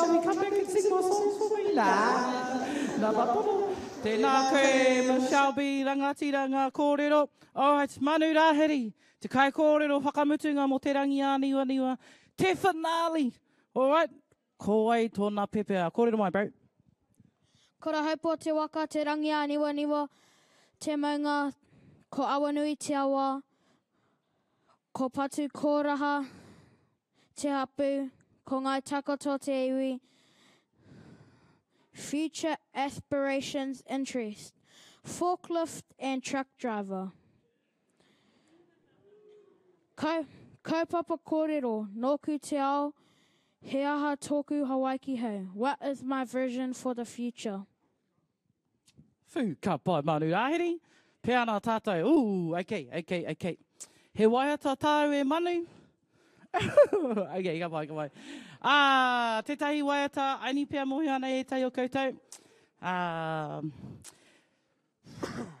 Shelby, come back and sing more songs for me? Nā, nā Papono. Tēnā koe, Michelle B, rangatira ngā kōrero. Alright, Manu Rāhiri, te kaikōrero whakamutunga mō Te Rangi Āniwaniwa, te finale. Alright, ko wai tōna pepeha? Kōrero mai, bro. Kurahaupo te waka, Te Rangi Āniwaniwa te maunga, ko Awanui te awa, ko Patu Kōraha te hapū, ko Ngāi Takoto te iwi, Future aspirations interest, Forklift and truck driver. Kau, kaupapa kōrero, nōku te ao, he aha tōku Hawaiki hou, what is my version for the future? Whew, ka pai Manu Rāhiri. Pea ana tātou. Ooh, okay, okay, okay. He waiata tāu e Manu? okay, ka pai, ka pai. Ah, tētahi waiata, aini pea mōhio ana ētahi o koutou. Ah,